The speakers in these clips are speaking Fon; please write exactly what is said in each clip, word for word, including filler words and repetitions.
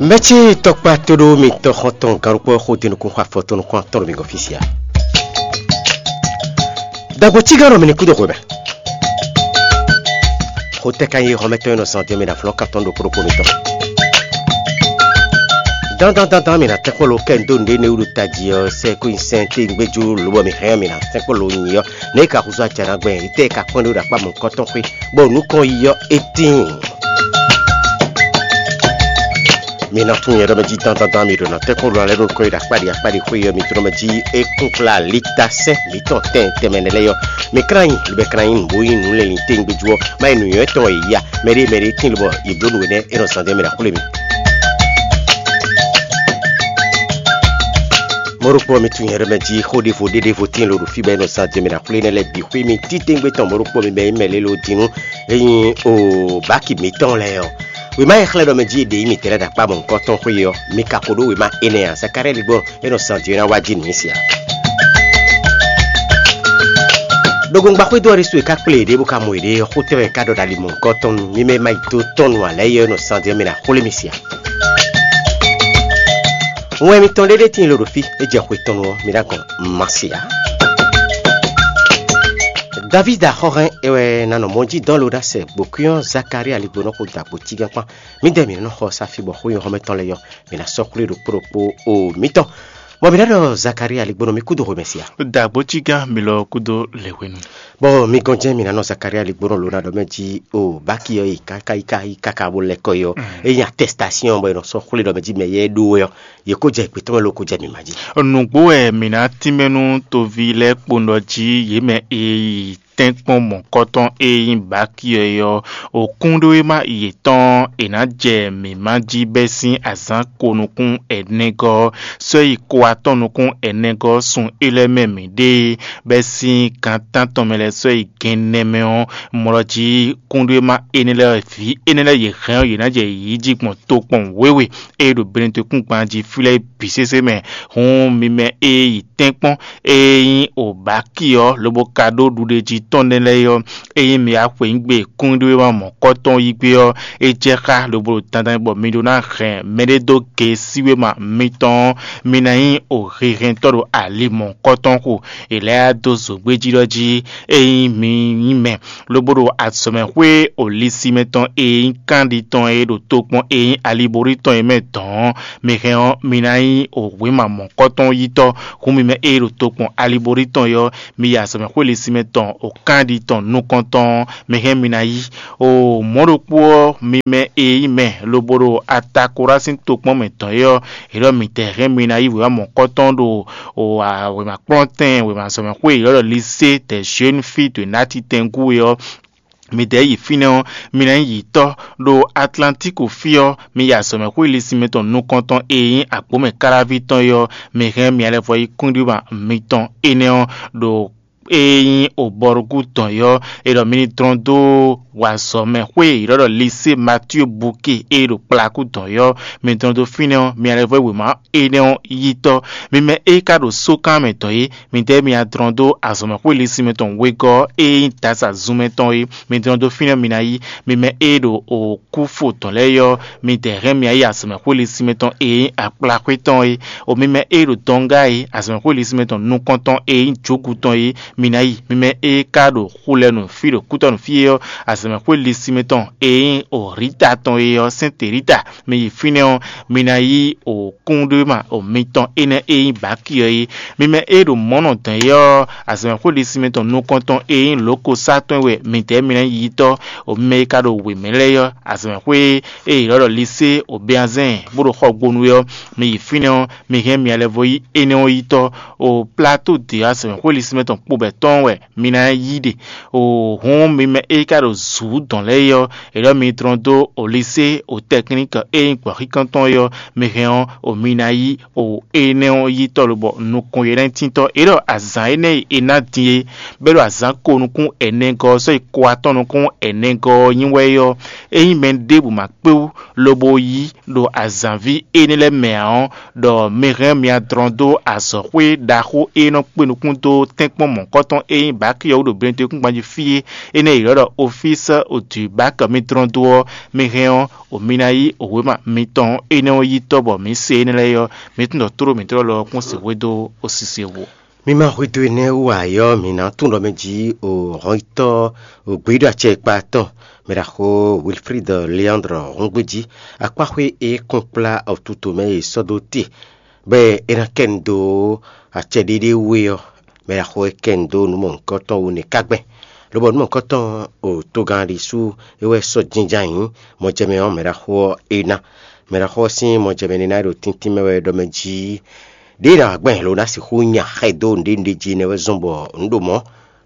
Mɛ̌ ce tɔkpá tóɖó mitɔn xɔntɔn gannukpɔ́ xó din nukún xɔ afɔ tɔn nukún atɔn ɖo mi gɔ́n fí sia? Dagbo cígán ɖɔ mi ní kúdó xwemɛ. Xotɛ́ ka nyí xɔmɛtɔ́ e nɔ zan din mi ɖo aflɔ́n kan tɔn ɖokpó ɖokpó mitɔn. Dandan dandan mi ná tɛ́ kpɔ́ lo kɛ ndo nǔɖé ne wúɖu tají ɔ́ sɛ kó nyi sɛn tégbéjú lobɔ mi hɛn mi ná tɛ́ kpɔ́ lo nyi ɔ́, nɛ̌ ka húzú acɛ ná gbɛn? Yi tɛ́ ka kpɔ́n ɖó ɖo akpá mɔ̌hunkɔtɔn xwé, bɔ nǔ kɔn yi ɔ́ é tíin. Mi ná tunwun nyɛ ɖɔ mɛ jí dandandan mi ɖo nɔ tɛ́nkpɔ́n ɖo alɛ ɖo kɔ́ yi ɖo akpáɖi akpáɖi xwé ɔ́, mi tlɔ́ mɛ jí é kún kplá lítá sɛ́n mǐtɔn tɛn tɛnmɛ nɛ́ lɛ́ɛ ɔ́. Mi klán nyi, libɛ klán nyi nǔ bó nyí nǔ lɛ́ɛ nyi téngbéjú ɔ́, má nyí nǔnywɛ́ tɔn e ya mɛɖé mɛɖé tín lobɔ yě bló nǔ énɛ́ é nɔ zán dɛ́ mɛ ɖo axwlé mi. Mɔ̌ ɖokpó ɔ́, mi tunwun nyɛ ɖɔ mɛ jí xó ɖěvo ɖé ɖěvo tíin lo ɖo fí bɔ é nɔ zán dɛ́ mɛ ɖo axwlé énɛ́ lɛ́ɛ bǐ xwé mi títí gbé tɔn mɔ̌ ɖokpó mi bɛ nyí mɛ lé lo din nú é nyí o bǎki mǐtɔn lɛ́ɛ ɔ́. Wěma e xlɛ́ ɖɔ mɛ jí è ɖe yí mǐtɛn lɛ́ɛ ɖo akpá mɔ̌hunkɔtɔn xwé ɔ́, mi ka ko ɖó wěma énɛ́ ǎ, Zakalíali gbɔn é nɔ zan din ɔ́ ná wá jí nǔ nyi se ǎ. Ɖogbongba xwédo ɔ́ ɖésú è ká kplé yěɖée bó ka mɔ yěɖée ɔ́, xó tɛ́ wɛ è ká ɖɔ ɖo ali mɔ̌hunkɔtɔn nu, mi mɛ e ma yi do tɔn nu ǎ lɛ́ɛ é nɔ zan din ɔ́, mi ɖo axwlé mi se ǎ. Wɛn mitɔn ɖé ɖé tíin lo ɖo fí, é jɛ xwe tɔn nu ɔ́, mi ná gɔn ma se ǎ. Davídi axɔ́hɛn é wɛ ná nɔ mɔ jí dɔn lo ɖó asɛ gbǒkwín ɔ́ Zakalíali gbónɔ́ xo dagbo cígán kpán. Mídɛɛ mǐ nɔ xɔ sáfi bɔ xó nyɔ́xɔ́mɛtɔn lɛ́ɛ yɔ, mǐ ná sɔ́ xwlé ɖokpó ɖokpó o mǐtɔn. Bɔ mǐ ná ɖɔ Zakalíali gbónɔ́ mì kúdó xwe mɛ sia. Dǎgbó cígán mi lɔ kúdó lěhwenu. Bɔ mi gɔn jɛ́n mǐ ná nɔ Zakalíali gbónɔ́ lo ná ɖɔ mɛ jí o báki ɔ́ yi káká yi ká yi káká bó lɛ́ kɔ yi ɔ́, é nyí atɛstasíɔn bɔ è nɔ sɔ́ xwlé ɖɔ mɛ jí mɛ yɛ ɖó wɛ ɔ́, yě kó jɛ gbětɔ́ mɛ lo kó jɛ mǐ ma jí. Nǔgbó wɛ mǐ ná tínmɛ nú toví lɛ́ɛ kpowun ɖɔ jí yě mɛ e yi tɛ́nkpɔ́n mɔ̌kɔtɔn e nyí Baki ɔ́ é ɔ́, òkúnɖéwéma yětɔn e ná jɛ mǐ ma jí bɛ́ sín azǎn ko nukún ɛnɛgɔ́ ɔ́, sɔ́ yi ko atɔ́ nukún ɛnɛgɔ́ ɔ́ sun é lɛ́ɛ mɛ mǐ ɖe, bɛ́ sín gan tántɔn mɛ lɛ́ɛ sɔ́ yi gɛnnɛ mɛ ɔ́, mlɔ jí kúnɖéwéma énɛ́ lɛ́ɛ vǐ énɛ́ lɛ́ɛ yě hɛn ɔ́, yě ná jɛ yǐ jí gbɔn tokpɔn wěwe e ɖo Benɛtɔkúngban jí fí lɛ́ɛ bǐ sésé mɛ. Hǔn mi mɛ e yi tɛ́nkpɔ́n e nyí Obaki ɔ́, lobo ka ɖó ɖuɖéjí tɔn nɛ́ lɛ́ɛ ɔ́, ényí mi wá xweyǐgbe kúnɖéwéma mɔ̌kɔtɔn yí gbé ɔ́, é jɛ xá lobo ɖo dandan bɔ mi ɖó ná hɛn mɛɖé dó ge síwéma mitɔn ɔ́, mi ná nyí o hehɛntɔ́ ɖo ali mɔ̌kɔtɔn xo. È lɛ́ dó zǒgbéjí ɖɔ jí, ényí mi nyí mɛ lobo ɖo azɔ̌mɛxwé o lisimɛ tɔn e nyí kanɖi tɔn e ɖo tokpɔn e nyí aliborí tɔn e mɛ dɔn ɔ́, mi hɛn ɔ́, mi ná nyí o wěma mɔ̌kɔtɔn yítɔ́. Hǔn mi mɛ e ɖo tokpɔn aliborí tɔn é ɔ́, mi yi azɔ̌mɛxwé lisimɛ tɔn o kanɖi tɔn nukɔntɔn ɔ́, mi hɛn mi ná yí. O mɔ̌ ɖokpó ɔ́, mi mɛ e nyí mɛ lobo ɖo Atakorá sín tokpɔn mɛ dɔn é ɔ́, è ɖɔ mi tɛ hɛn mi ná yí wěma mɔ̌kɔtɔn ɖo o wěma kplɔ́ntɛn wěma azɔ̌mɛxwé e è ɖɔ ɖɔ Lisée des jeunes filles de Natitɛngú é ɔ́, mi dɛ̌ yi fínɛ́ ɔ́, mi ná nyí yǐtɔ́. Ɖo Atlantíku fí ɔ́, mi yi azɔ̌mɛxwé lisinmɛ tɔn nukɔntɔn e nyí agbǒmɛ káláví tɔn é ɔ́, mi hɛn mia lɛ́ vɔ yi kúnɖíma mitɔn énɛ́ ɔ́ ɖo e nyí obɔrúkú dɔn é ɔ́, è ɖɔ mi ní dlɔ́n dó wazɔ̌mɛxwé e è ɖɔ ɖɔ Lisée Matyuu Buke e ɖo kplakú dɔn é ɔ́, mi dlɔ́n dó fínɛ́ ɔ́, mia lɛ́ vɔ yi wěma énɛ́ ɔ́ yítɔ́. Mi mɛ e ka ɖo sókan mɛ dɔn é, midɛɛ mi adlɔn dó azɔ̌mɛxwé lisinmɛ tɔn wegɔ́ ɔ́ e nyí Dasa zunmɛ tɔn é. Mi dlɔn dó fínɛ́ mi ná yi. Mi mɛ e ɖo o kúfo tɔn lɛ́ɛ é ɔ́, midɛɛ hɛn mi yi azɔ̌mɛxwé lisinmɛ tɔn e nyí akplaxwé tɔn é. O mi mɛ e ɖo dɔngá é, azɔ̌mɛxwé lisinmɛ tɔn nukɔntɔn e nyí jogu tɔn é, mi ná yi. Mi mɛ e ka ɖo xulɛnu fí ɖo kútɔ́nu fí é ɔ́, azɔ̌mɛxwé lisinmɛ tɔn e nyí o Rita tɔn é ɔ́, sɛ́n Terita, mi yi fínɛ́ ɔ́, mi ná yí o kúnɖéma o mitɔn énɛ́ e nyí Baki ɔ́ é. Mi mɛ e ɖo mɔ̌ nɔ dɔn é ɔ́, azɔ̌mɛxwé lisinmɛ tɔn nukɔntɔn e nyí lǒkosá tɔn é wɛ midɛɛ mi ná yi yítɔ́. O mi mɛ e ka ɖo wěmɛ lɛ́ɛ é ɔ́, azɔ̌mɛxwé e è ɖɔ ɖɔ Lisée o Beazɛ́n bó ɖo xɔgbonu é ɔ́, mi yi fínɛ́ ɔ́, mi hɛn mia lɛ́ vɔ yí énɛ́ ɔ́ yítɔ́. O Plato de azɔ̌mɛxwé lisinmɛ tɔn kpo bɛ̌ tɔn wɛ mi ná yí ɖe. O hǔn mi mɛ e ka ɖo zǔ dɔn lɛ́ɛ é ɔ́, è ɖɔ mi dlɔn dó o Lisée o tɛkník e nyí gbɔ̌xíkantɔn é ɔ́, mi hɛn ɔ́, o mi ná yí o énɛ́ ɔ́ yítɔ́ lobɔ nukɔn e ná nyí tíntɔ́. È ɖɔ azǎn énɛ́ e è nǎ din é, bɔ é ɖo azǎn ko nukún ɛnɛgɔ́ ɔ́ sɔ́ yi ko atɔ́ nukún ɛnɛgɔ́ ɔ́ nyí wɛ é ɔ́, ényí mɛ ɖěbǔ ma kpé wú lobo yí ɖo azǎnví énɛ́ lɛ́ɛ mɛ ǎ ɔ́, ɖɔ mi hɛn mia dlɔn dó azɔ̌xwé ɖaxó e nɔ kpé nukún dó tɛ́nkpɔ́n mɔ̌ kpɔ́tɔ́ e nyí bǎki ɔ́ wú ɖo Benedekúngban jí fí é, énɛ́ e è ylɔ́ ɖɔ Ofísi du Báki mitɔn dó ɔ́, mi hɛn ɔ́, o mi ná yí wěma mitɔn énɛ́ ɔ́ yi tɔ́ bɔ mǐ se énɛ́ lɛ́ɛ ɔ́, mi tunwun ɖɔ tlóló mǐtɔn lɔ ɔ́ kún sixú dó o sise wú. Mi ma xwedó énɛ́ wú ǎ ɔ́, mǐ ná tunwun ɖɔ mɛ jí o hɔnyitɔ́ o gbeyíɖɔ acɛ e kpa tɔn, mɛɖaxó Wilfrid Leandre hɔngbéjí akpáxwé e kɔn kplá ɔtuto mɛ e sɔ́ dó te, bɔ é ná kɛ nu dó acɛ ɖéɖé wú é ɔ́, mɛɖaxó e kɛ nu dó nǔ mɔ̌hunkɔtɔn wú nɛ́ ka gbɛn. Lobɔ nǔ mɔ̌hunkɔtɔn o togán ɖésú é wɛ sɔ́ jínjɔ́n ayǐ mɔjɛmɛ ɔ́ mɛɖaxó ɔ́ é ná. Mɛɖaxó ɔ́ sín mɔjɛmɛ nínɔ́ e ɖo tíntín mɛ wɛ ɖɔ mɛ jí ɖěe ná wá gbɛn lo ná sixú nya xɛ dó nǔɖé nǔɖé jí nɛ́ wɛ zɔ́n bɔ nǔ ɖo mɔ̌,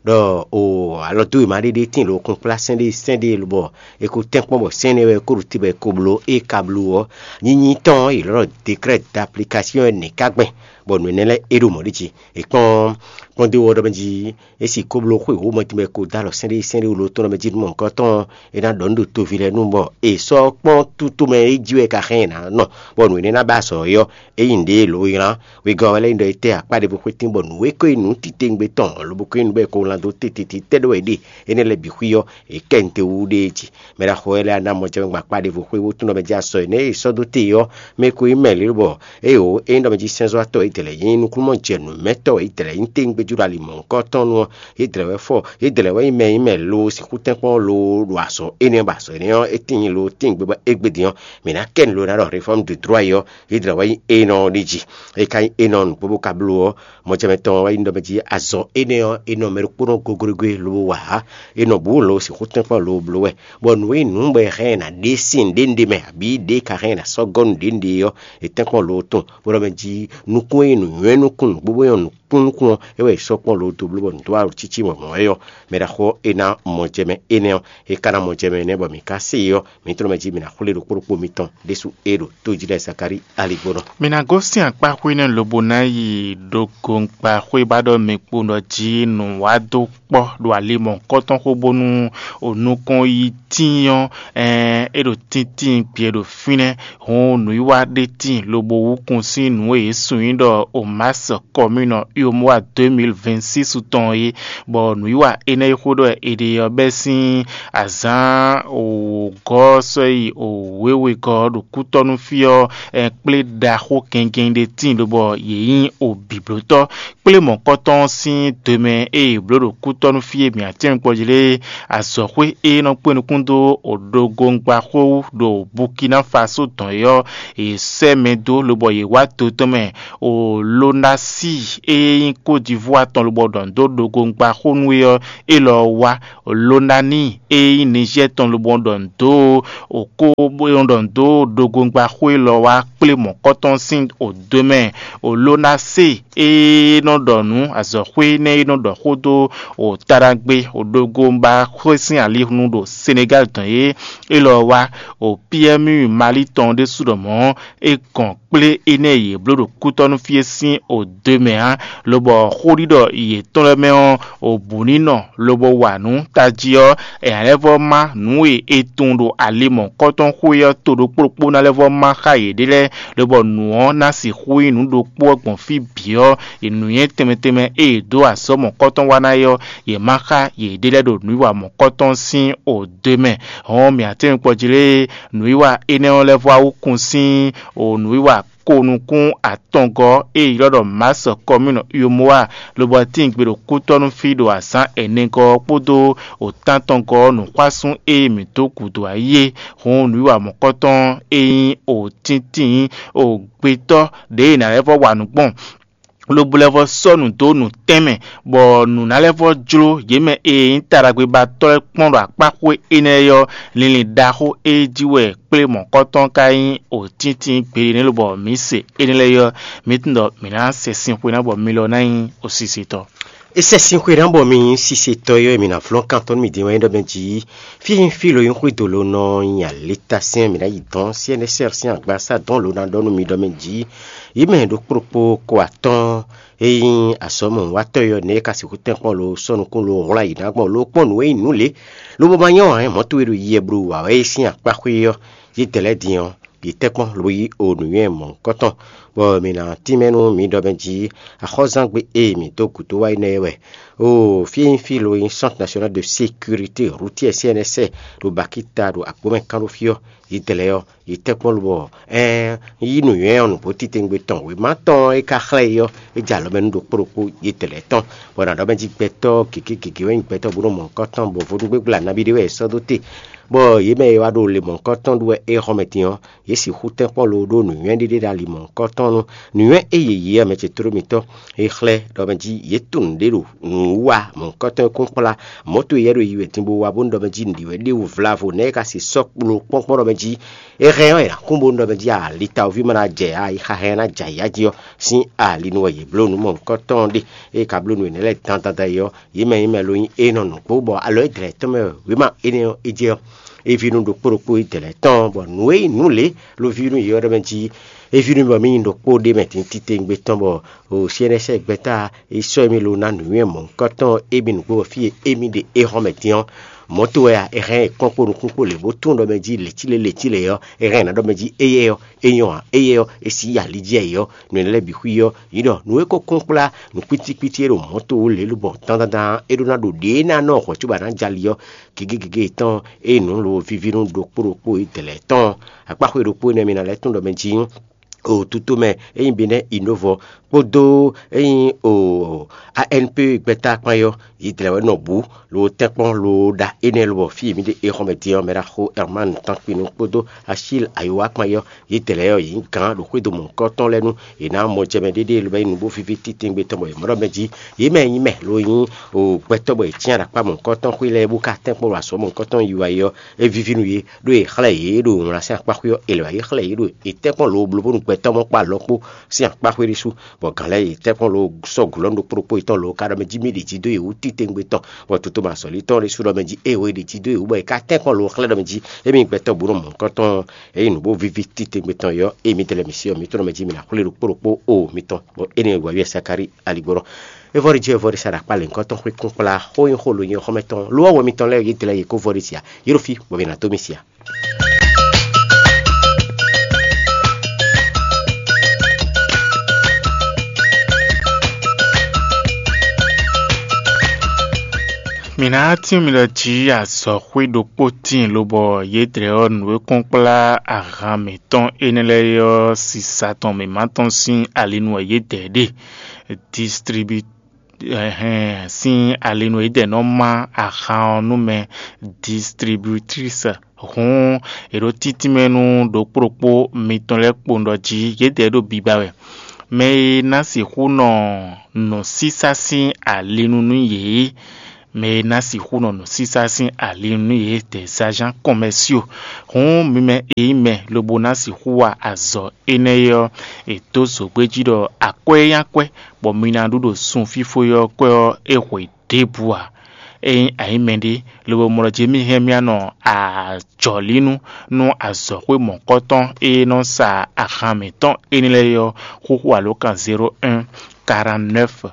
ɖɔ o alɔ dó wěma ɖé ɖé tíin lo kún kplá sɛ́n ɖé sɛ́n ɖé lobɔ è ko tɛ́nkpɔ́n bɔ sɛ́n énɛ́ wɛ ko ɖo te bɔ è ko bló é ka bló ɔ́, nyinyi tɔn ɔ́, yě lɔ́ ɖɔ décret d'application wɛ nɛ̌ ka gbɛn, bɔ nǔ énɛ́ lɛ́ɛ é ɖo mɔ̌ ɖi jí. È kpɔ́n kpɔ́n dó wɔ ɖɔ mɛ jí é sì ko bló xwé wǒ mɔ tɛnmɛ ko dó alɔ sɛ́n ɖé sɛ́n ɖé wú lo tɔn ɖɔ mɛ jí nú mɔ̌hunkɔtɔn ɔ́, é ná ɖɔ nǔ ɖo toví lɛ́ɛ nu bɔ è sɔ́ kpɔ́n tútomɛ é jí wɛ ka xɛn ná nɔ, bɔ nǔ énɛ́ ná ba azɔ̌ é ɔ́, é nyí nǔɖé lo nylá. Wegɔ́ ɔ́ wɛ lɛ́ nyí ɖɔ é tɛ́ akpá ɖěvo xwé tín bɔ nǔ e ko nyí nǔ titewungbe tɔn lobo ko nyí nǔ bɔ è ko wlán dó tititi tɛ́ ɖɔ è ɖe énɛ́ lɛ́ɛ bǐ xwí ɔ́, è kɛ nǔ te wú ɖéé jí. Mɛ ɖaxó wɛ lɛ́ɛ ná mɔ jɛ gbɔn akpá ɖěvo xwé wótú nɔ mɛ jí asɔ énɛ́ e è sɔ́ dó te ɔ́ mɛ ko nyí mɛ lě lobɔ éeǒ é nyí ɖɔ mɛ jí sɛ́nzɔ́watɔ́ é dlɛ̌ nyí nukúnnú jɛ nǔmɛtɔ́ é dlɛ̌ nyí téwúngbéjú ɖo ali mɔ̌hunkɔtɔn nu ɔ́, é dlɛ̌ wɛ fɔ é dlɛ̌ wɛ nyí mɛ e nyí mɛ lo sixú tɛ́nkpɔ́n lo ɖo azɔ̌ énɛ́ bɔ azɔ̌ énɛ́ ɔ́ é tíin lo tíin gbé bɔ égbé din ɔ́, mǐ ná kɛ nǔ lo ná ɖɔ réfɔ́mu de drɔ́ é ɔ́, é dlɛ̌ wɛ nyí énɔ ɔ́ ɖi jí. É ka nyí énɔ nǔgbó bó ka bló ɔ́, mɔjɛmɛ tɔn wɛ nyí ɖɔ mɛ jí azɔ̌ énɛ́ ɔ́, é nɔ mɛ ɖokpónɔ goglogbé lobo wa ǎ, é nɔ bǔ lo sixú tɛ́nkpɔ́n lo bló wɛ, bɔ nǔ e nǔ bɔ è hɛn ɛ ná ɖe sín nǔɖé nǔɖé mɛ abǐ ɖě ka hɛn ɛ ná sɔ́ gɔ́ nǔɖé nǔɖé ɔ́, è tɛ́nkpɔ́n lo tɔn, bó ɖɔ mɛ jí nukún e nyí nǔnywɛ́núkún nǔgbó bó nyɔ́ nǔkúnnukún ɔ́, é wɛ è sɔ́ kpɔ́n lo dó bló bɔ nǔ dó alɔ cící mɔ̌mɔ́ wɛ ɔ́, mɛ ɖaxó ɔ́ é ná mɔjɛmɛ énɛ́ ɔ́, é ka ná mɔjɛmɛ énɛ́ bɔ mǐ ka se é ɔ́, mǐ tlɔ́ mɛ jí mǐ ná xwlé ɖokpó ɖokpó mitɔn ɖésú é ɖo tójí lɛ́ɛ Zakalíi aligbónɔ. Mi ná gosín akpá xwé nɛ́ lobo ná yi ɖo gongba xwé ba ɖɔ mi kpo ɖɔ jí nǔ wá dó kpɔ́ ɖo ali mɔ̌hunkɔtɔn xo bónú o nukɔn yi tíin ɔ́, ɛɛn é ɖo tíntín gbě ɖo fínɛ́. Hǔn nǔwiwa ɖé tíin lobo wúkun sín nǔ e yě sun nyí ɖɔ Omas kɔmínɔ Uyomowa deux mille vingt-six tɔn é, bɔ nǔwiwa énɛ́ e xó ɖɔ è ɖe ɔ́ bɛ́ sín azǎn wǒgɔ́ sɔ́ yi wěwegɔ́ ɖo kútɔ́nú fí ɔ́, kplé ɖaxó gɛngɛn ɖé tíin lobɔ yě nyí obǐblótɔ́. Kplé mɔ̌kɔtɔn sín do mɛ e è blǒ ɖo kútɔ́nú fí e mǐ atɛ́nwikpɔ́ jí lé, azɔ̌xwé e nɔ kpé nukún dó ɖogongbaxó wú ɖo Bukina Faso dɔn é ɔ́, è sɛ́ mɛ dó lobɔ yě wá do tɔn mɛ. Olonasi e nyí Kódivwá tɔn lobɔ ɖɔ nǔ dó ɖogongbaxó nú é ɔ́, élɔ́ wá. Lonani e nyí Nizɛ́ɛ tɔn lobɔ ɖɔ nǔ dó okó bó nɔ ɖɔ nǔ dó ɖogongbaxó élɔ́ wá kplé mɔ̌kɔtɔn sín odo mɛ. Olonase e nɔ ɖɔ nǔ azɔ̌xwé énɛ́ e nɔ ɖɔ xó dó o taɖagbe o ɖogongbaxó sín alihunu ɖo Senegal dɔn é, élɔ́ wá. O P M U Mali tɔn ɖésú ɖɔ mɔ̌, é gɔn kplé énɛ́ e yě bló ɖo kútɔ́nú fí é sín odo mɛ ǎ, lobɔ xóɖiɖɔ yětɔn lɛ́ɛ mɛ ɔ́, o bǔ ní nɔ lobo wa nǔ tají ɔ́, è nǎ lɛ́ vɔ́ má nǔ e è tunwun ɖo ali mɔ̌hunkɔtɔn xwé ɔ́ to ɖokpó ɖokpó ná lɛ́ vɔ́ má xá yěɖée lɛ́ɛ, lobɔ nǔ ɔ́ ná sixú nyí nǔ ɖokpó ɔ́ gbɔn fí bǐ ɔ́, è nǔnywɛ́ tɛnmɛ tɛnmɛ e è dó azɔ̌ mɔ̌hunkɔtɔn wa ná é ɔ́, yě má xá yěɖée lɛ́ɛ ɖo nǔwiwa mɔ̌hunkɔtɔn sín odo mɛ. Hɔn mǐ atɛ́nwikpɔ́ jí lé, nǔwiwa énɛ́ ɔ́ lɛ́ vɔ́ wá wú kun sín o nǔwiwa ko nukún atɔngɔ́ e è ylɔ́ ɖɔ Masɔ kɔmínu Yomowa, lobo ɔ́ tíin gbe ɖo kútɔ́nú fí ɖo azǎn ɛnɛgɔ́ ɔ́ kpódó o tántɔngɔ́ ɔ́ nǔxwásún e mǐ dó gǔdo ayí é. Hǔn nǔwiwa mɔ̌kɔtɔn e nyí o tíntín o gbetɔ́ ɖěe è nǎ lɛ́ vɔ́ wa nǔ gbɔn, lobo lɛ́ vɔ́ sɔ́ nǔ dó nǔtɛ́nmɛ, bɔ nǔ ná lɛ́ vɔ́ jló yě mɛ e nyí taɖagbebatɔ́ lɛ́ɛ kpɔ́n ɖo akpáxwé énɛ́ ɔ́, linlin ɖaxó e jí wɛ kplé mɔ̌kɔtɔn ka nyí o tíntín gbeɖé nɛ́ lobɔ mǐ se énɛ́ lɛ́ɛ ɔ́, mǐ tunwun ɖɔ mǐ ná sɛ sin xwe ná bɔ mi lɔ ná nyí osisitɔ. É sɛ́ sín xwe ná bɔ mi nyí sisetɔ ɔ́, mǐ ná flɔ́n kan tɔn nú mi din wɛ nyí ɖɔ mɛ jí fí e nyí fí lo nyí xwedó lo nɔ nyi alita sɛn mǐ ná yi dɔn C N S R sín agbasa dɔn lo ná ɖɔ nú mi ɖɔ mɛ jí yě mɛ ɖokpó ɖokpó ko atɔ́ɔ́n e nyí azɔ̌mɔwatɔ́ e ɔ́ nɛ̌ é ka sixú tɛ́nkpɔ́n lo sɔ́ nukún lo hwlá yě ná gbɔn lo kpɔ́n nǔ e nyí nǔ lě, lobo ma nyɔ́ ǎ, mɔ̌ towe ɖo yiyɛ blo wǎ wɛ é sín akpá xwé ɔ́, yědɛɛ lɛ́ɛ din ɔ́, Yi tɛ́nkpɔ́n lobo yí o nǔnywɛ́ mɔ̌hunkɔtɔn, bɔ mǐ ná tínmɛ nú mi ɖɔ mɛ jí axɔ́zán gbe e mǐ dó gǔdo wá énɛ́ wɛ. Oo, fí e nyí fí lo nyí Centre National de Sécurité Routière, C N S, ɖo Bakita ɖo Agbǒmɛ kán ɖó fí ɔ́, yi dlɛ̌ ɔ́, yi tɛ́nkpɔ́n lobɔ ɛɛn yí nǔnywɛ́ ɔ́ nǔgbó titewungbe tɔn wěma tɔn e ka xlɛ́ yi ɔ́, é jɛ alɔ mɛ nú ɖokpó ɖokpó yi dlɛ̌ tɔn, bɔ nǎ ɖɔ mɛ jí gbɛtɔ́ gěgé gěgé wɛ nyí gbɛtɔ́ bó nɔ mɔ̌hunkɔtɔn bɔ vodúngbégbla nabí ɖé wɛ è sɔ́ dó te, bɔ yě mɛ e wá ɖo le mɔ̌hunkɔtɔn ɖu wɛ é hɔn mɛ din ɔ́, yě sixú tɛ́nkpɔ́n loo ɖó nǔnywɛ́ ɖé ɖé ɖo ali mɔ̌hunkɔtɔn nú nǔnywɛ́ e yě yí ɔ́ mɛ ce tló mitɔ́. È xlɛ́ ɖɔ mɛ jí yě tunwun ɖě ɖo nǔwiwa mɔ̌hunkɔtɔn e kún kplá mɔ̌ towe yɛ́ ɖo yi wɛ din bó wá bónú ɖɔ mɛ jí nǔɖiɖi wɛ ɖéwu vlavo nɛ́ é ka se sɔ́ kpló kpɔ́nkpɔ́n ɖɔ mɛ jí é hɛn ɔ́, è nǎ kún bónú ɖɔ mɛ jí alitawɔví ma ná jɛ ayixa hɛn ná jɛ ayǐ jí ɔ́ sín ali nu wɛ yě bló nǔ mɔ̌hunkɔtɔn ɖe. Ée ka bló nǔ énɛ́ lɛ́ɛ dandan yi ɔ́, yě mɛ nyí mɛ lo nyí é nɔ nǔgbó bɔ alɔ é dlɛ̌ tɔn mɛ wěma énɛ́ ɔ́ é jɛ ɔ́, é ví nú ɖokpó ɖokpó é dlɛ̌ tɔn, bɔ nǔ e nyí nǔ lě ló ví nú yě ɔ́ ɖɔ mɛ jí é ví nú mì bɔ mì nyí ɖokpó ɖé mɛ din titewungbe tɔn, bɔ o C N S gbɛ́ta é sɔ́ émí lo ná nǔnywɛ́ mɔ̌hunkɔtɔn émí nǔgbó bɔ fí e émí ɖe é hɔn mɛ din ɔ́, mɔ̌ to wɛ a? È hɛn ɛ kpɔ́n kpó nukún kpó lě bó tunwun ɖɔ mɛ jí lěcílé lěcílé ɔ́, è hɛn ɛ nǎ ɖɔ mɛ jí éyɛ́ ɔ́, é nyɔ́ ǎ, éyɛ́ ɔ́, é sí yi ali jí ayǐ ɔ́, nǔ énɛ́ lɛ́ɛ bǐ xwí ɔ́, yǐ ɖɔ nǔ e ko kún kplá nǔkpítíkpítí e ɖo mɔ̌ to wú lě lobɔ dandandan é ɖó ná ɖo ɖě ná nɔ hwɛ̌ cóbɔ ná jɛ ali ɔ́, gěgé gěgé yětɔn ée nǔ lo víví nú ɖokpó ɖokpó Izlayɛ́li tɔn. Akpáxwé ɖokpó énɛ́ mi ná lɛ́ tunwun ɖɔ mɛ jí o tutomɛ e nyí Benɛ́ Inovɔ kpódó e nyí o A N P gbɛ́ta kpán ɔ́, Izlayɛ́li wɛ nɔ bǔ lo tɛ́nkpɔ́n lo ɖa énɛ́ lobɔ fí e mǐ ɖe é xɔ́ mɛ din ɔ́, mɛ ɖaxó Ɛrmán Tánkpinu kpódó Asíl Ayowá kpán ɔ́, Izlayɛ́li yě nyí gǎn ɖo xwédo mɔ̌hunkɔtɔn lɛ́ɛ nu. È nǎ mɔ jɛ mɛ ɖéɖéé lobo nyí nǔ bó víví titewungbe tɔn bɔ è mɔ ɖɔ mɛ jí yě mɛ e nyí mɛ lo nyí o gbɛtɔ́ bɔ è cyán ɖo akpá mɔ̌hunkɔtɔn xwé lɛ́ɛ bó ka tɛ́nkpɔ́n ɖo azɔ̌ mɔ̌hunkɔtɔn yi wɛ é ɔ́, é víví nú yě, ɖó è xlɛ́ yě ɖo wlǎn sín akpá xwé ɔ́, è lɛ̌ wá yi xlɛ́ yě ɖo è tɛ́nkpɔ́n lo bló bónú gbɛtɔ́ mɔ kpó alɔkpó sín akpá xwé ɖésú, bɔ gǎn lɛ́ɛ yě tɛ́nkpɔ́n lo sɔ́ gǔlɔ́nú ɖokpó ɖokpó yětɔn lo ka ɖɔ mɛ jí mì ɖi jí dó yě wú titewungbe tɔn, bɔ toto ma azɔ̌lí tɔn ɖésú ɖɔ mɛ jí ée wǒ è ɖi jí dó yě wú bɔ è ka tɛ́nkpɔ́n lo xlɛ́ ɖɔ mɛ jí émí gbɛtɔ́ bǔ nɔ mɔ̌hunkɔtɔn ɔ́, ényí nǔ bó víví titewungbe tɔn yɔ, ée mǐdɛɛ lɛ́ɛ mǐ se ɔ́, mǐ tɔn mɛ jí mǐ ná xwlé ɖokpó ɖokpó o mitɔn, bɔ énɛ́ wǎ wí Sakari aligbɔnɔ. É vɔ́ ɖi jí é vɔ́ ɖi sa ɖo akpá lěhunkɔtɔn xwé kún kplá xó nyí xó lo nyí xɔ́mɛ tɔn. Lo ɔ́, wɛ mitɔn lɛ́ɛ yě dlɛ́ yě kó vɔ́ ɖi sia, yě ɖo fí bɔ mǐ ná dó mì sia. Mǐ ná tún mi ɖɔ jí azɔ̌xwé ɖokpó tíin lobɔ yědɛɛ ɔ́ nǔ e kún kplá ahan mǐtɔn énɛ́ lɛ́ɛ é ɔ́, sisa tɔn mǐmá tɔn sín ali nu wɛ yědɛɛ ɖe. Distribu ɛhɛn sín ali nu yědɛɛ nɔ má ahan ɔ́ nú mɛ distributrice. Hǔn è ɖǒ títínmɛ nú ɖokpó ɖokpó mitɔn lɛ́ɛ kpowun ɖɔ jí yědɛɛ ɖo biba wɛ. Mɛ e ná sixú nɔ nǔsísá sín ali nu nú yě, mɛ e ná sixú nɔ nǔsísá sín ali nu nú yě, des agents commerciaux. Hǔn mi mɛ e nyí mɛ lobo ná sixú wa azɔ̌ énɛ́ é ɔ́, è dó zǒgbéjí ɖɔ akwɛ́ e nyí akwɛ́, bɔ mi ná ɖu ɖo sun fífó é ɔ́ kwɛ́ ɔ́, é hwe ɖěbǔ ǎ. Ényí a nyǐ mɛɖé, lobo mlɔ jí mì hɛn mì anɔ ajɔ̌línú nú azɔ̌xwé mɔ̌kɔtɔn e nɔ sa ahan mǐtɔn énɛ́ lɛ́ɛ ɔ́, xóxó alǒkan zéro un, quarante-neuf,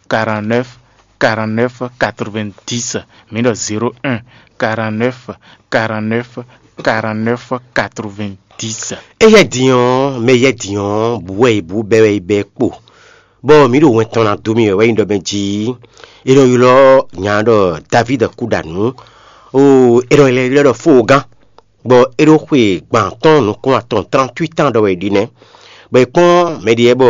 quarante-neuf, quarante-neuf, quatre-vingt-dix. Mǐ ɖɔ zéro un, quarante-neuf, quarante-neuf, quarante-neuf, quatre-vingt-dix. Éyɛ́ din ɔ́, mɛ yɛ́ din ɔ́, bǔ wɛ è bǔ, bɛ́ wɛ è bɛ́ kpo, bɔ mǐ ɖo wɛn tɔn ná dó mì wɛ wɛ nyí ɖɔ mɛ jí. È nɔ ylɔ́ nya ɖɔ Davídi kúɖanǔ, oo, è nɔ ylɔ́ ɖɔ Fóogán, bɔ é ɖó xwe gban atɔ́ɔ́n nukún atɔn, trente-huit ans ɖɔ wɛ è ɖi nɛ́, bɔ è kpɔ́n mɛɖé lɛ́ɛ bɔ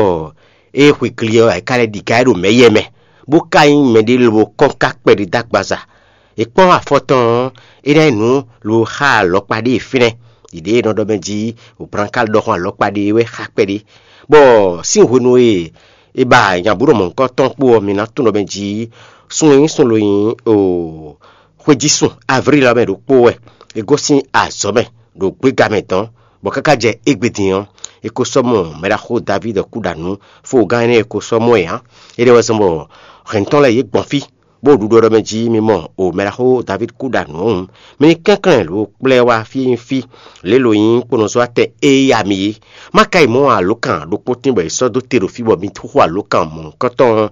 é xwe gli ɔ́, ayǐká lɛ́ɛ ɖi ga é ɖo mɛ̌ yɛ mɛ, bó ka nyí mɛɖé lobo kɔ́n ká kpɛɖé dó agbaza. È kpɔ́n afɔ tɔn ɔ́, é ná nyí nǔ lo xá alɔkpa ɖé e fínɛ́. Ɖiɖě e nɔ ɖɔ mɛ jí wǒblánkálɔ ɖɔxɔn alɔkpa ɖé wɛ xá kpɛɖé, bɔ sín hwenu e è ba nyabǔɖɔmɔ̌hunkɔtɔn kpó ɔ́, mi ná tunwun ɖɔ mɛ jí sun e nyí sun lo nyí o xwejísun Avríl ɔ́ mɛ ɖokpó wɛ. È gosín azɔ̌ mɛ ɖo gbéga mɛ dɔ̌n, bɔ káká jɛ égbé din ɔ́, è ko sɔ́ mɔ mɛɖaxó Davídi kúɖanǔ, fógán énɛ́ è ko sɔ́ mɔ ɛ ǎ. Énɛ́ wɛ zɔ́n bɔ hɛ̌ntɔn lɛ́ɛ yě gbɔn fí, bó ɖu ɖɔ ɖɔ mɛ jí mi mɔ o mɛɖaxó Davídi kúɖanǔ ɔ́ hǔn, mi ní kɛnklɛ́n lo kplá ɛ wá fí e nyí fí, lě lo nyí kponɔzɔ́watɛn e yá mi é. Má ka yi mɔ alǒkan ɖokpó tín bɔ è sɔ́ dó te ɖo fí bɔ mi xo alǒkan mɔ̌hunkɔtɔn ɔ́.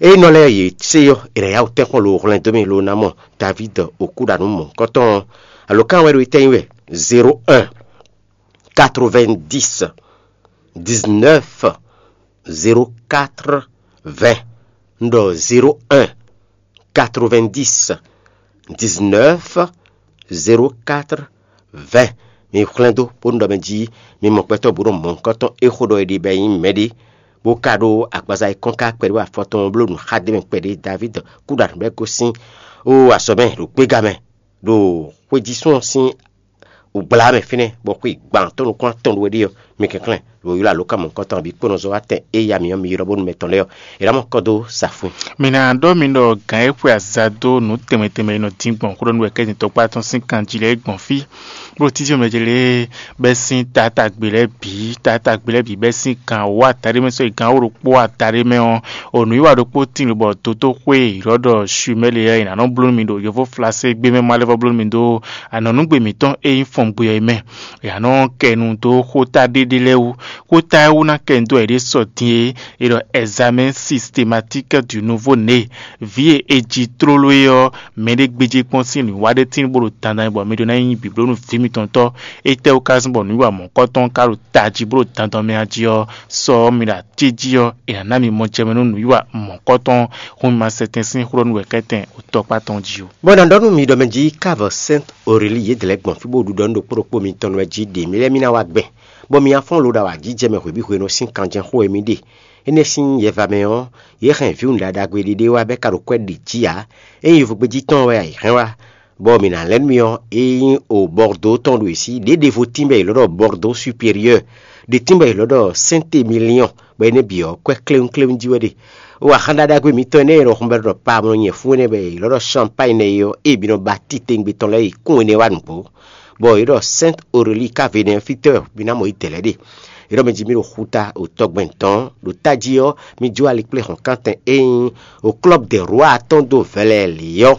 Ényí nɔ lɛ́ɛ yě se ɔ́, è nǎ yá wǔ tɛ́nkpɔ́n lo hwlɛ́n dó mi lo ná mɔ Davídi okúɖanú mɔ̌hunkɔtɔn ɔ́. Alǒkan wɛ ɖo itɛ́ nyí wɛ: zéro un, quatre-vingt-dix, dix-neuf, zéro quatre, vingt. Un ɖɔ zéro un, quatre-vingt-dix, dix-neuf, zéro quatre, vingt. Mi xlɛ́ dó bónú ɖɔ mɛ jí mi mɔ gbɛtɔ́ bó ɖo mɔ̌hunkɔtɔn é xó ɖɔ è ɖi bɔ é nyí mɛɖé, bó ka ɖó agbaza e kɔn ká kpɛɖé afɔ tɔn bló nǔ xá d'é mɛ kpɛɖé. Davíd kú ɖo aɖǔ bɔ é gosín ó azɔ̌ mɛ ɖo gbéga mɛ ɖo xwéjísún ɔ́ sín wǔgbla mɛ fínɛ́, bɔ xwe gban tɔn nukún atɔn ɖo é ɖe ɔ́, mi kɛnklɛ́n ɖo ylɔ́ alǒkan mɔ̌hunkɔtɔn ɔ́ bǐ kpó nɔ zɔ́ wá tɛn e ya mǐ ɔ́ mi ylɔ́ bónú mɛtɔn lɛ́ɛ ɔ́, è nǎ mɔ kɔ dó sa fun. Mi ná ɖɔ mi ɖɔ gǎn e xwe azǎn dó nǔ tɛnmɛ tɛnmɛ e nɔ dín gbɔn xó ɖɔ nú wɛ kɛ́tɛn tɔkpá tɔn sín kanjí lɛ́ɛ gbɔn fí, bó títí mɛ ce lée bɛ́ sín taátagbe lɛ́ɛ bǐ, taátagbe lɛ́ɛ bǐ bɛ́ sín gan wǒ adaɖé mɛ sɔ́ yi gan wó ɖokpó adaɖé mɛ ɔ́, o nǔwiwa ɖokpó tíin lobɔ dótóxwé ylɔ́ ɖɔ Shumɛ́li ɔ́, è nǎ nɔ bló nú mi ɖo yovóflásé gbé mɛ, má lɛ́ vɔ́ bló nú mi dó anɔ̌núgbe mǐtɔn e nyí fɔngbwe ɔ́ yi mɛ. È nǎ nɔ kɛ nu dó xóta ɖéɖé lɛ́ɛ wú. Xóta e wú ná kɛ nu dó wɛ è ɖe sɔ din é, è ɖɔ examen systématique du nouveau né. Vǐ e è ji tlóló é ɔ́, mɛɖé gbéjé kpɔ́n sín nǔwiwa ɖé tíin bó ɖo dandan bɔ mi ɖó ná nyí bǐblónú vǐ mitɔn tɔ́. Étɛ́wú ka zɔ́n bɔ nǔwiwa mɔ̌kɔtɔn ka ɖo tají bó ɖo dandan mɛ a jí ɔ́, sɔ ɔ́ mi ɖo atíjí ɔ́, è nǎ ná mi mɔ jɛ mɛ nú nǔwiwa mɔ̌kɔtɔn, hun mi ma sɛ tɛn sín xó ɖɔ nú wɛ kɛ́tɛn tɔkpá tɔn jí ó. Bɔ è nǎ ɖɔ nú mi ɖɔ mɛ jí káva Sɛ́nt Oréli yědɛɛ lɛ́ɛ gbɔn fí bó ɖu ɖɔ nú ɖokpó ɖokpó mitɔn lɛ́ɛ jí ɖě mì lɛ́ɛ mì ná wá gbɛn, bɔ mi ná fɔ́n lo ɖo awǎjijɛ mɛ hwebǐhwenu sín kanjɛxó e mì ɖe. Énɛ́ sín yɛva mɛ ɔ́, yě hɛn vǐwun ɖaɖagbe ɖé ɖé wá bɔ é ka ɖo kwɛ́ ɖě jí ǎ. Ényí yovógbéjí tɔn wɛ a yi hɛn wá, bɔ mǐ ná lɛ́ nú mi ɔ́, é nyí o Bɔrdó tɔn ɖo yě sí. Ɖě ɖěvo tín bɔ è ylɔ́ ɖɔ Bɔrdó Superieur, ɖě tín bɔ è ylɔ́ ɖɔ Sɛ́ntemiliɔn, bɔ énɛ́ bǐ ɔ́, kwɛ́ kléwúnkléwún jí wɛ ɖe. O axán ɖaɖagbe mǐtɔn énɛ́ e è nɔ hun bɔ è nɔ ɖɔ Palm nyɛ̌fún énɛ́ bɔ è ylɔ́ ɖɔ Champágne é ɔ́, ée bǐ nɔ ba titewungbe tɔn lɛ́ɛ yi kún énɛ́ wá nǔgbó, bɔ è ɖɔ Sɛ́nt Oréli ká Vénɛfitɔ́ɔ, mi ná mɔ yě dɛ̌ lɛ́ɛ ɖe. È ɖɔ mɛ jí mi ɖo xuta ɖo tɔgbɛn dɔ̌n, ɖo tají ɔ́, mi jó ali kplé hɔ̌nkántɛn e nyí o Klɔ́b de Rwa tɔn dó vɛlɛlǐ ɔ́,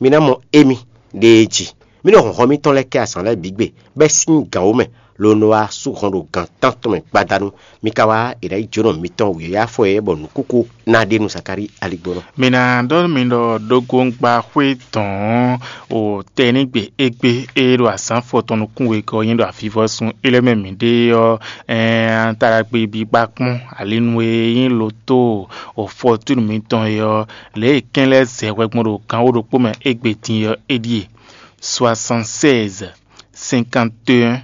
mi ná mɔ émí ɖe é jí. Mi nɔ hlɔ̌nhlɔ́n mitɔn lɛ́ɛ kɛ azǎn lɛ́ɛ bǐ gbe, bɔ é sín gǎn wú mɛ, lobo nɔ wá sú hɔn ɖo gan tántɔn mɛ gbadanu. Mi ka wá è nǎ yi jónɔ mitɔn wǐyáfɔ é bɔ nǔkúkú ná ɖe nú Zakalíi aligbɔnɔ. Mi ná ɖɔ nú mi ɖɔ ɖógóngba xwé dɔ̌n o tɛnígbe égbé e ɖo azǎn fɔtɔn nukún wegɔ́ nyí ɖo avivɔsun é lɛ́ɛ mɛ mǐ ɖe ɔ́, ɛɛn taɖagbe bí gbá kpɔ́n alinu e nyí lotó o fɔtúnu mitɔn é ɔ́, lě e kɛ́n lɛ́ɛ zɛ hwɛ gbɔn ɖo gan wó ɖokpó mɛ égbé din é ɔ́, é ɖíe: soixante-seize, cinquante et un,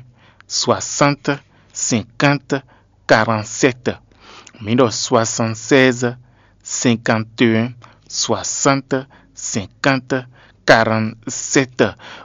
soixante, cinquante, quarante-sept. Mi ɖɔ soixante-seize, cinquante et un, soixante, cinquante, quarante-sept.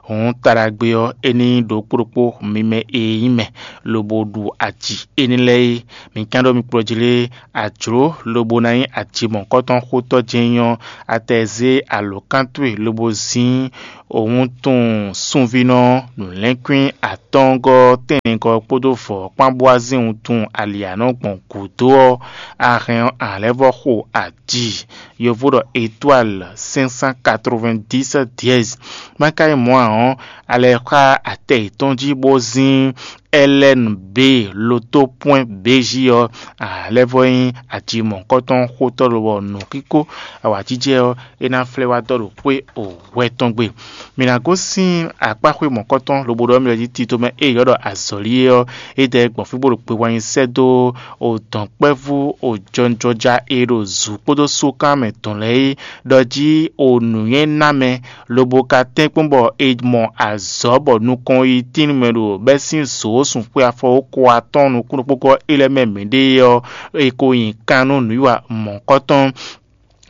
Hǔn taɖagbe ɔ́, é ní ɖokpó ɖokpó mi mɛ e nyí mɛ, lobo ɖu aji énɛ́ lɛ́ɛ é. Mi ka ɖɔ mi kplɔ́ jí lé, a jlǒ lobo ná nyí aji mɔ̌kɔtɔn xótɔ́ jɛ́n nyí ɔ́, a tɛ zé alǒkan towe lobo zín o wuntun sunvínɔ nǔlɛ́nkwín atɔ́ɔ́ngɔ́ tɛ́nnɛgɔ́ kpódó vɔ̌ kpán bó wá zín wuntun ali anɔ́ gbɔn gǔdo ɔ́, a hɛn ɔ́, a lɛ́ vɔ́ xo aji. Yovo ɖɔ étoile cinq cent quatre-vingt-dix dièse. Má ka nyí mɔ̌ ǎ ɔ́, a lɛ́ xá atɛ yětɔn jí bó zín L N B loto pwɛ́n B J ɔ́, a lɛ́ vɔ́ nyí aji mɔ̌hunkɔtɔn xótɔ́ lobɔ nǔxíxó awǎjijɛ ɔ́, é ná flɛ́ wá dɔ́ ɖo xwé o hwɛ tɔn gbe. Mǐ ná gosín akpáxwé mɔ̌kɔtɔn lobo ɖɔ mì lɛ́ jí tito mɛ e è ylɔ́ ɖɔ azɔ̌li é ɔ́, é dɛ gbɔn fí bó ɖo kpe wá nyi sɛ́ dó o dɔ̌nkpɛvú o jɔnjɔja e ɖo zǔ kpódó sókan mɛ tɔn lɛ́ɛ é, ɖɔ jí o nǔnywɛ́ ná mɛ, lobo ka tɛ́nkpɔ́n bɔ è mɔ azɔ̌ bɔ nukɔn yi tín mɛ ɖo bɛ́ sín zǒ sunxwe afɔ ko atɔ́ɔ́n nukúnnú kpókpó é lɛ́ɛ mɛ mǐɖée ɔ́, è ko nyi kan nú nǔwiwa mɔ̌hunkɔtɔn.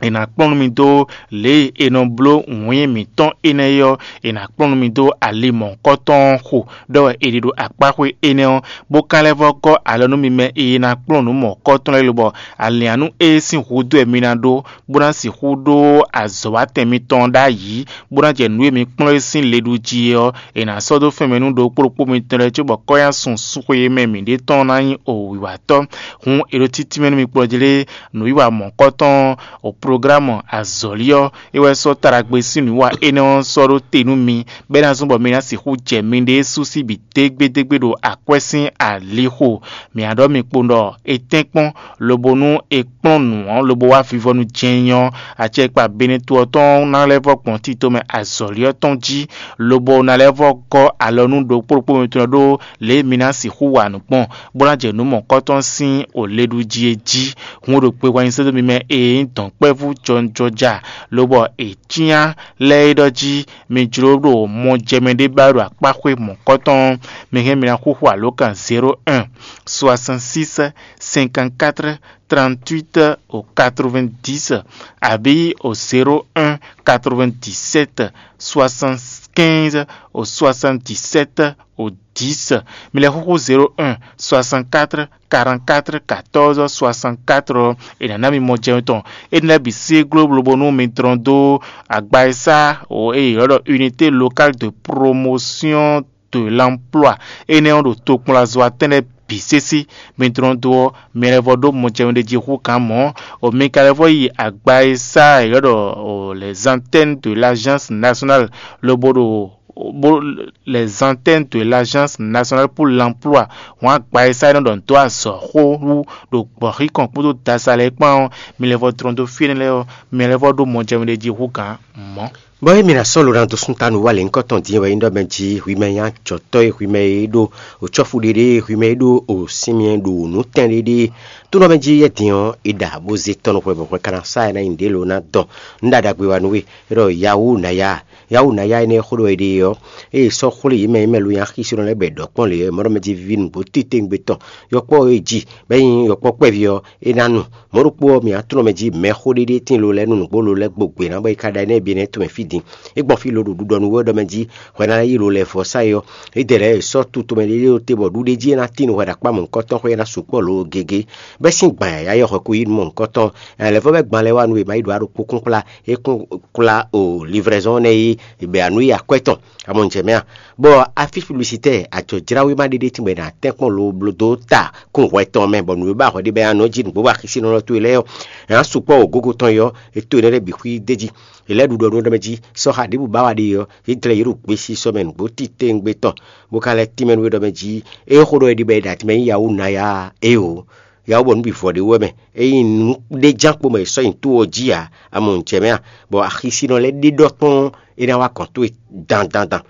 È nǎ kplɔ́n nú mi dó lě e è nɔ bló wǐin mǐtɔn énɛ́ é ɔ́, è nǎ kplɔ́n nú mi dó ali mɔ̌hunkɔtɔn xo ɖɔ wɛ è ɖe ɖo akpáxwé énɛ́ ɔ́, bó ka lɛ́ vɔ́ gɔ́ alɔ nú mi mɛ e ná kplɔ́n nǔ mɔ̌hunkɔtɔn lɛ́ɛ lobɔ alǐannu e sín húzú wɛ mi ná ɖó, bó ná sixú ɖó azɔ̌watɛn mitɔn ɖ'ayǐ, bó ná jɛ nǔ e mi kplɔ́n é sín le ɖu jí é ɔ́, è nǎ sɔ́ dó fɛnmɛ nú ɖokpó ɖokpó mitɔn lɛ́ɛ cóbɔ kɔ́nyá sun súnxwe e mɛ mǐ ɖe tɔn ná nyí o wǐwatɔ́. Hǔn è ɖo títí mɛ nú mi kplɔ́ jí lé, nǔwiwa mɔ̌kɔtɔn, o Programu azɔ̌li ɔ́, é wɛ sɔ́ taɖagbe sín nǔwiwa énɛ́ ɔ́ sɔ́ ɖó te nú mi, bɔ é ná zɔ́n bɔ mi ná sixú jɛ miɖée sú sí bǐ dégbédégbé ɖo akwɛ́ sín alixo. Mǐ ná ɖɔ mi kpo ɖɔ è tɛ́nkpɔ́n, lobo nú è kplɔ́n nǔ ɔ́ lobo wá vivɔnu jɛ́n ɔ́, acɛkpa Beneto ɔ́ tɔn ná lɛ́ vɔ́ gbɔn tito mɛ azɔ̌li ɔ́ tɔn jí, lobo ná lɛ́ vɔ́ gɔ́ alɔ nú ɖokpó ɖokpó mitɔn ɖó lě e mi ná sixú wa nǔ gbɔn, bó ná jɛ nǔ mɔ̌kɔtɔn sín o le ɖu jí é jí. Hun ɖo kpe wɛ nyi sɛ́dó mi mɛ e nyí dɔ̌nkpɛvú jɔnjɔja, lobɔ è cyán lɛ́ é ɖɔ jí mi jló ɖo mɔjɛmɛ ɖé ba ɖo akpáxwé mɔ̌kɔtɔn ɔ́, mi hɛn mi ná xúxú alǒkan zéro un, soixante-six, cinquante-quatre, trente-huit au quatre-vingt-dix, abǐ au zéro un, quatre-vingt-dix-sept, soixante-quinze au soixante-dix-sept au dix. Mi lɛ́ xúxú zéro un, soixante-quatre, quarante-quatre, quatorze, soixante-quatre ɔ́, è nǎ ná mi mɔjɛmɛ tɔn. Énɛ́ lɛ́ɛ bǐ sí gló lobo nú mi dlɔ́n dó agba e sá o e è ylɔ́ ɖɔ unité locale de promotion de l'emploi énɛ́ ɔ́ ɖo tokpɔnlazɔ́watɛn lɛ́ɛ bǐ sésé. Mi dlɔ́n dó ɔ́, mi lɛ́ vɔ ɖó mɔjɛmɛ ɖé jí hú gǎn mɔ̌. O mi ka lɛ́ vɔ yi agba e sá è ylɔ́ ɖɔ o les antennes de l'agence nationale lobo ɖo bó les antennes de l'agence nationale pour l'emploi, hɔn agba e sá é nɔ ɖɔ nǔ dó azɔ̌ xó wú ɖo gbɔ̌xíkɔn kpódó dasa lɛ́ɛ kpán ɔ́, mi lɛ́ vɔ dlɔ́n dó fí énɛ́ lɛ́ɛ ɔ́, mi lɛ́ vɔ ɖó mɔjɛmɛ ɖé jí hú gǎn mɔ̌. Bɔ émí ná sɔ́ lo ná dó súnta nú wá lěhunkɔtɔn din wɛ nyí ɖɔ mɛ jí hwi mɛ nyí ajɔ̌tɔ́ e hwi mɛ e ɖo òcɔ́fu ɖéɖé e hwi mɛ e ɖo òsínmyɛ ɖo nǔtɛn ɖéɖé. Tó nɔ mɛ jí yɛ din ɔ́, è ɖa bó zé tɔn nú hwɛ bɔ hwɛ ka ná sá ɛ ná nyi ɖě lo ná dɔn. Un ɖa ɖagbe wa nú we, é ɖɔ yawu nǎ ya. Yawu nǎ ya énɛ́ e xó ɖɔ è ɖe ɔ́, ée è sɔ́ xwlé yě mɛ e mɛ lo nyi axisínɔ lɛ́ɛ bɔ è ɖɔ kpɔ́n lě ɔ́, è mɔ ɖɔ mɛ jí víví nǔgbó titewungbe tɔn, yɔkpɔ́ e jí, bɔ é nyí yɔkpɔ́ kpɛví ɔ́, é ná nu. Mɔ̌ ɖokpó ɔ́, mǐ aklúnɔ mɛ jí mɛxó ɖéɖé tín lo lɛ́ɛ nú nǔgbó lo lɛ́ɛ gbo gbě ná bɔ é ka ɖa énɛ́ bǐ nɛ́ tomɛ fí din. É gbɔn fí lo ɖo ɖuɖɔ nú wɛ ɖɔ mɛ jí hwɛ ná yi lo lɛ́ vɔ sá é ɔ́, é dɛ lɛ́ɛ è sɔ́ tu tomɛ ɖéɖé ɖó te bɔ ɖuɖé jí é ná tín nú hwɛ ɖo akpá mɔ̌hunkɔtɔn xwé é ná sukpɔ́ lo gěgé. Bɛ́ sín gbǎn yǎyá yɔ́ hwɛ kó yí nú mɔ̌hunkɔtɔn. Lɛ̌vɔ́ bɛ́ gban lɛ́ɛ wá nú è má yi ɖǒ aɖokpó kún kplá é kún kplá o livrɛzɔ́n nɛ́ é bɛ anu yi akwɛ́ tɔn. Amɔnjɛ mɛ a? Bɔ afífluisitɛ́ ajɔ̌jláwéma ɖé ɖé tíngbɛ ná tɛ́nkpɔ́n lo bló dó ta kún hwɛ tɔn mɛ, bɔ nǔ e ba hwɛ ɖé bɛ anɔ jí nǔgbó axisínɔ towe lɛ́ɛ ɔ́, ná sukpɔ́ o gógo tɔn yɔ, é to énɛ́ lɛ́ɛ bǐ xwí d'é jí. È lɛ́ ɖu ɖɔ nú ɖɔ mɛ jí sɔ́ xa ɖěbǔ ba wa ɖe ɔ́, é dlɛ́ yě ɖo gbesi sɔ́ mɛ nǔgbó titewungbe tɔn, bó ka lɛ́ tínmɛ nú é ɖɔ mɛ jí é xó ɖɔ é ɖi bɔ è ɖo atin mɛ nyí yawu ná ya éeǒ. Yawu bɔ nǔ bǐ vɔ ɖé wɛ mɛ. Ényí nǔ ɖé ján kpo mɛ è sɔ́ nyi tó ɔ́ jí ǎ, amɔnjɛ mɛ a? Bɔ axisínɔ lɛ́ɛ ɖe ɖɔ kpɔ́n é ná wá gɔ̌n towe dandandan.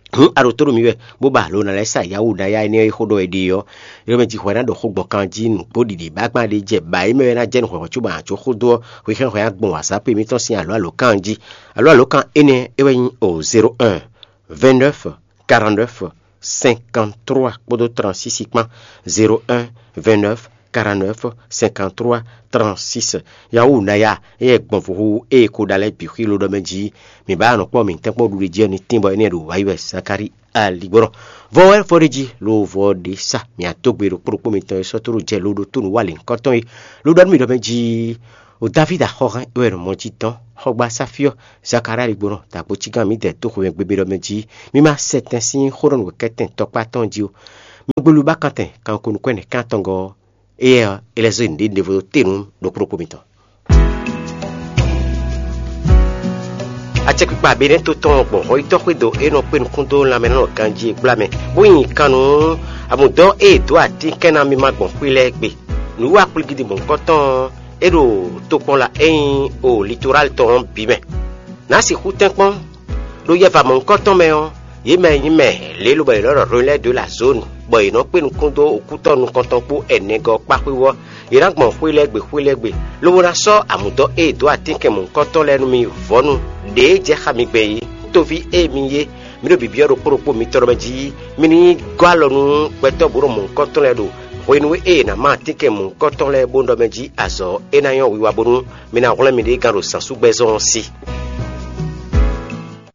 Hǔn a ɖo tó ɖo mì wɛ, bó ba alo ná lɛ́ sa yawu ná ya énɛ́ e xó ɖɔ è ɖe ɔ́, é ɖɔ mɛ jí hwɛ ná ɖɔ xó gbɔn kan jí nǔgbó ɖiɖi bágbán ɖé jɛ ba é mɛ wɛ ná jɛ nǔ hwɛhwɛ cóbɔ ǎ có xó dó ɔ́, hwexɛ́n hwɛ ná gbɔn wǎzápé mǐtɔn sín alǒ alǒkan jí. Alǒ alǒkan énɛ́ é wɛ nyí o zéro un, vingt-neuf, quarante-neuf, cinquante-trois kpódó trente-six kpán. Zéro un, vingt-neuf, quarante-neuf, cinquante-trois, trente-six. Yawu ná ya, éyɛ́ gbɔn vohu ée ko ɖa lɛ́ɛ bǐ xwí lo ɖɔ mɛ jí. Mǐ ba nɔ kpɔ́n mǐtɛn kpɔ́n ɖuɖu jí ɔ́ ní tín bɔ énɛ́ ɖo wǎyi wɛ Zakalíi aligbɔnɔ. Vɔ wɛ fɔ ɖé jí lo vɔ ɖé sa mǐ adó gbe ɖo kplɔ́kpó mitɔn e sɔ́ tó ɖo jɛ lo ɖo tó nǔ wa lěhunkɔtɔn é. Lo ɖɔ nú mì ɖɔ mɛ jí o Davídi axɔ́hɛn é wɛ nɔ mɔ jí dɔn xɔgbasá fí ɔ́, Zakalíi aligbɔnɔ dagbo cígán mǐdɛɛ dó xwemɛ gbégbé ɖɔ mɛ jí. Mi ma sɛ tɛn sín xó ɖɔ nǔkɛtɛn tɔkpá tɔn jí o. Mi gbelu ba kantɛn kanko nukún ɛnɛ kan tɔn gɔ́ ɔ́, éyɛ́ ɔ́, é lɛ́ zé nǔɖé ɖěvo dó te nú ɖokpó ɖokpó mitɔn. Acɛkpikpa Benɛ́to tɔn gbɔn hɔyítɔ́ xwédo e nɔ kpé nukún dó lanmɛnánɔ ganjí e gbla mɛ, bó nyi kan nú amǔdɔ́ e è dǒ atínkɛn ná mímá gbɔn xwé lɛ́ɛ gbe. Nǔwiwa kplígídi mɔ̌hunkɔtɔn ɔ́, é ɖo tokpɔnla e nyí o litoráli tɔn ɔ́ bǐ mɛ. Nǎ sixú tɛ́nkpɔ́n, ɖo yɛva mɔ̌hunkɔtɔn mɛ ɔ́, yě mɛ e nyí mɛ lě lobɔ è nɔ ɖɔ Relais de la Zone, bɔ è nɔ kpé nukún dó okútɔ́ nukɔntɔn kpó ɛnɛgɔ́ kpá xwé ɔ́, yě ná gbɔn xwé lɛ́ɛ gbe xwé lɛ́ɛ gbe, lobo ná sɔ́ amǔdɔ́ e è dǒ atínkɛn mɔ̌hunkɔtɔn lɛ́ɛ nú mi vɔ̌nu ɖě e jɛ xá mi gbɛn é. Toví e mi nyí é, mi ɖo bǐbí ɔ́ ɖokpó ɖokpó mitɔn ɖɔ mɛ jí, mi ní gɔ́ alɔ nú gbɛtɔ́ bǔ ɖo mɔ̌hunkɔtɔn lɛ́ɛ ɖo hwenu e è nǎ má atínkɛn mɔ̌hunkɔtɔn lɛ́ɛ bó ɖɔ mɛ jí azɔ̌ é ná nyɔ́ wiwa bónú mi ná hwlɛ́n miɖée gán ɖo zǎnsúgbɛ́zɔn ɔ́ sí.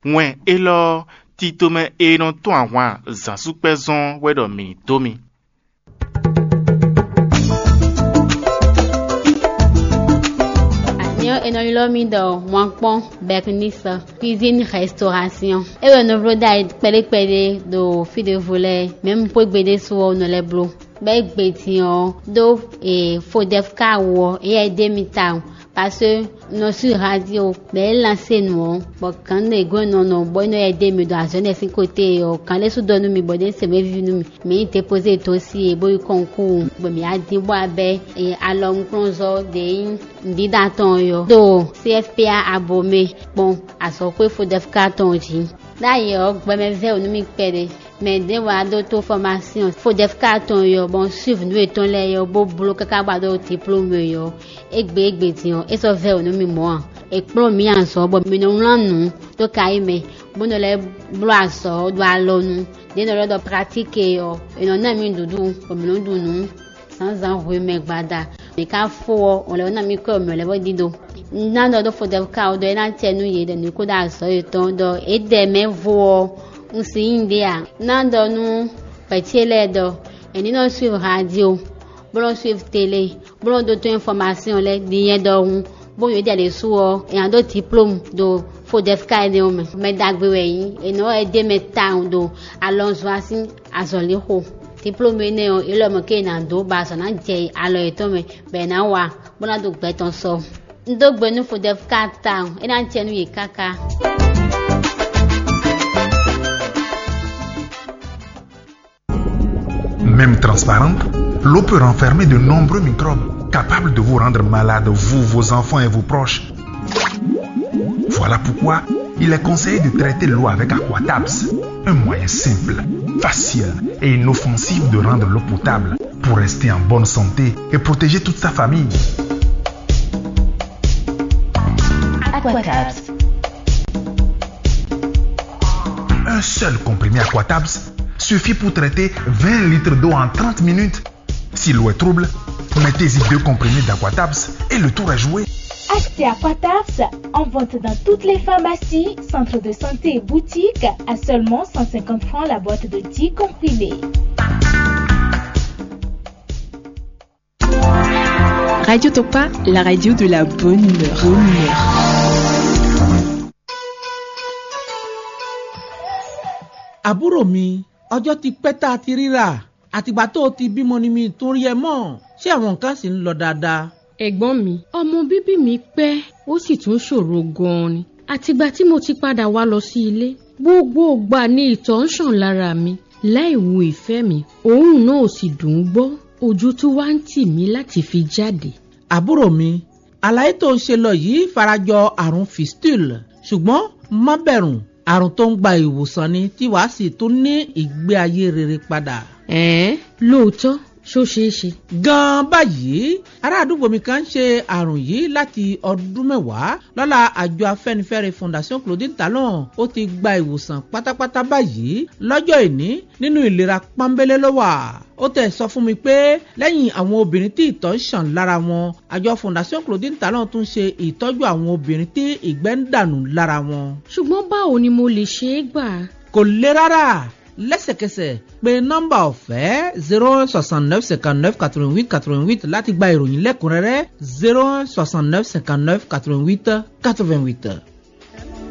Wɛn élɔ́ ɔ́, titomɛ e nɔ tɔ́n ahwan zǎnsúkpɛ́zɔn wɛ ɖɔ mǐ dó mi. Anyɔ e nɔ ylɔ́ mì ɖɔ wankpɔ́n Bernice cuisine restauration. É wɛ nɔ bló ɖ'ayǐ kpɛɖé kpɛɖé ɖo fí ɖěvo lɛ́ɛ, mɛ̌ un xwé gbe ɖésú ɔ́ nɔ lɛ́ bló. Bɔ é gbe din ɔ́ ɖó e Fodɛfka wú ɔ́, éyɛ́ é ɖe mì tawun. Parce que nɔ sur radio bɛ é lansé nu ɔ́, bɔ gǎn nɔ e gɔ́n nɔ nɔ bɔ é nɔ yɛ dé mi ɖo azɔ̌ nɛ sín côté ɔ́, gǎn lɛ́ɛ sú dɔ nú mi bɔ ɖé se mɛ víví nú mi. Mi yi dépozé dó sí e bó yi kɔnkúu, bɔ mi á dín bɔ abɛ alɔnukplɔ́nzɔ́ ɖě nyí nǔɖíɖa tɔn ɔ́ yɔ ɖo C F P A abo mɛ kpɔn azɔ̌xwé Fodɛfka tɔn jí. Ɖ'ayǐ ɔ́, gbɛmɛ vɛ́ wǔ nú mì kpɛɖé. Mɛ ɖěvo wá ɖó tó fɔmásyɔn Fodɛfka tɔn ɔ́, bɔ un suiv nǔ yětɔn lɛ́ɛ ɔ́, bó bló káká bɔ a ɖó diplómu ɔ́. Égbé égbé din ɔ́, é sɔ́ vɛ́ wǔ nú mì mɔ̌ ǎ. È kplɔ́n mǐ azɔ̌ bɔ mǐ nɔ wlán nǔ dó kayí mɛ, bó nɔ lɛ́ bló azɔ̌ ɖo alɔnu. Ɖě nɔ ɖɔ ɖɔ pratíki ɔ́, è nɔ ná mì nǔɖuɖu, bɔ mǐ nɔ ɖu nǔ zǎnzǎn hwemɛ gbada. Mǐ ka fó ɔ́, wǒn lɛ́ɛ ná mì kɔ́ mǐ lɛ́ɛ bó ɖíɖó. Un ná ɖɔ ɖó Fodɛfka ɔ́ ɖɔ é ná acɛ nú yě ɖɔ mǐ kó ɖó azɔ̌ yětɔn ɖɔ é ɖɛ mɛ vo ɔ́, un si nyí ɖé ǎ. Un ná ɖɔ nú vɛ̌ ce lɛ́ɛ ɖɔ è ní nɔ suiv radio, bó nɔ suiv tele, bó nɔ ɖótó infɔmasyɔn lɛ́ɛ din nyɛ ɖɔhun, bó nyɔ̌ ɖi alě su ɔ́, è nǎ ɖó diplómu ɖo Fodɛfka énɛ́ ɔ́ mɛ. Mɛ ɖagbe wɛ é nyí, è nɔ wɛ é ɖe mɛ tawun ɖo alɔnzɔ́ sín azɔ̌lixo. Diplómu énɛ́ ɔ́, é lɔ mɔ̌ ké è nǎ dó bɔ azɔ̌ ná jɛ alɔ yětɔn mɛ, bɔ è nǎ wa, bó ná ɖo gbɛ tɔn sɔ. Un dó gbe nú Fodɛfka tawun, é ná jɛ nú yě káká. Même transparente, l'eau peut renfermer de nombreux microbes capables de vous rendre malade, vous, vos enfants et vos proches. Voilà pourquoi il est conseillé de traiter l'eau avec Aquatabs, un moyen simple, facile et inoffensif de rendre l'eau potable pour rester en bonne santé et protéger toute sa famille. Aquatabs. Un seul comprimé Aquatabs suffit pour traiter vingt litres d'eau en trente minutes. Si l'eau est trouble, mettez-y deux comprimés d'Aquatabs et le tour est joué. Achetez Aquatabs en vente dans toutes les pharmacies, centres de santé et boutiques à seulement cent cinquante francs la boîte de dix comprimés. Radio Topa, la radio de la bonne humeur. Bonne humeur. Àbúrò mi, ọjọ́ ti pẹ́ tá a ti ríra. Àtìgbà tó o ti bímọ ni mi tún rí ẹ mọ́. Ṣé àwọn nǹkan sì ń lọ dáadáa? Ẹ̀gbọ́n mi, ọmọ bíbí mi pẹ́, ó sì tún ṣòro gan-an ni. Àtìgbà tí mo ti padà wá lọ sí ilé, gbogbo ìgbà ni ìtọ̀ ń ṣàn lára mi. Láì wu ìfẹ́ mi, òórùn náà ò sì dùn ún gbọ́. Ojú tún wá ń tì mí láti fi jáde. Àbúrò mi, àlàyé tó ń ṣe lọ yìí farajọ àrùn fistule, ṣùgbọ́n má bẹ̀rù, àrùn tó ń gba ìwòsàn ni tí wàá sì tún ní ìgbé ayé rere padà. Ẹ̀ẹ́n, lóòótọ́, ṣó ṣeé ṣe? Gan-an báyìí, ará àdúgbò mi kan ń ṣe àrùn yìí láti ọdún mẹ́wàá. Lọ́la àjọ afẹ́nifẹ́re Fondation Claudine Talon, ó ti gba ìwòsàn pátápátá báyìí. Lọ́jọ́ ìní, nínú ìlera pọ́nbélé ló wà. Ó tẹ̀ sọ fún mi pé lẹ́yìn àwọn obìnrin tí ìtọ̀ ń ṣàn lára wọn, àjọ Fondation Claudine Talon tún ṣe ìtọ́jú àwọn obìnrin tí ìgbẹ́ ń dànù lára wọn. Ṣùgbọ́n báwo ni mo lè ṣe é gbà? Kò le rárá. Lẹ́sẹ̀kẹsẹ̀, pe nọ́mbà ọ̀fẹ́ zéro un soixante-neuf cinquante-neuf quatre-vingt-huit quatre-vingt-huit láti gba ìròyìn lẹ́kùnrẹ́rẹ́. Zéro un soixante-neuf cinquante-neuf quatre-vingt-huit quatre-vingt-huit.